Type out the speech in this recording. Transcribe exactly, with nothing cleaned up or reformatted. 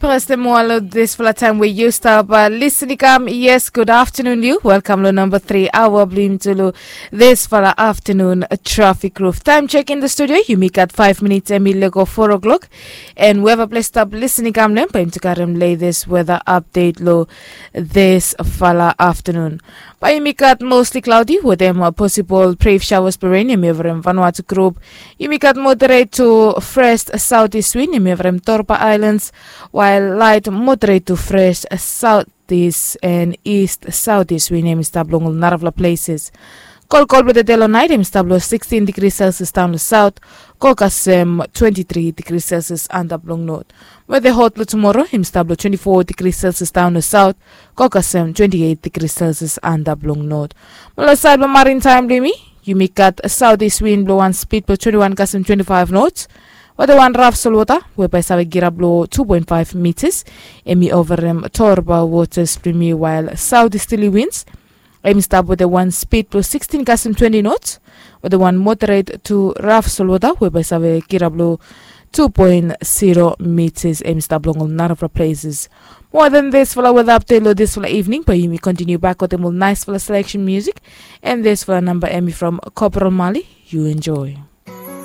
Pasta moa lo disfala taem we yu stap lisin i kam. Yes, gud aftanun yu. Welkam lo namba tri aoa blong yumi tu lo disfala aftanun trafik ruf taem. Chek in da studio, yumi gat faef minits em i lego foa klok. En weva ples stap lisin i kam lo em bae yumi tu karem letes weda apdet lo disfala aftanun. Bae yumi gat mosli klaodi wetem posibol bref shawas blong ren em i ovarem Vanuatu grup. Yumi gat moderet tu fres saotis win em i ovarem Torba Aelans, wael laet moderet tu fres saotis en ist saotis win em i stap long ol narafala pleses. Kolkol blong tede long naet em i stap long sikstin digri selsias daon long saot, go kasem twenti tri digri selsias antap long not. Weda hot blong tumoro em i stap long twenti fo digri selsias daon long saot, go kasem twenti eit digri selsias antap long not. Mo long saed blong marin taem blong yumi, yumi gat saotis win blong wan spid blong twenti wan kasem twenti faef nots, weda wan raf solwota we bae save girap long tu poen faef mitas em i ovarem Torba wotas blong yumi, wael saotis tili wins em i stap weda wan spid blong sikstin kasem twenti nots, weda wan moderet tu raf solwota we bae save girap long tu poen siro mitas em i stap long ol narafala pleses. Moa dan disfala weda apdet long disfala ivning bae yumi kontiniu bak wetem ol naesfala seleksen musik. En disfala namba em i from Kopral Mali. Yu enjoe.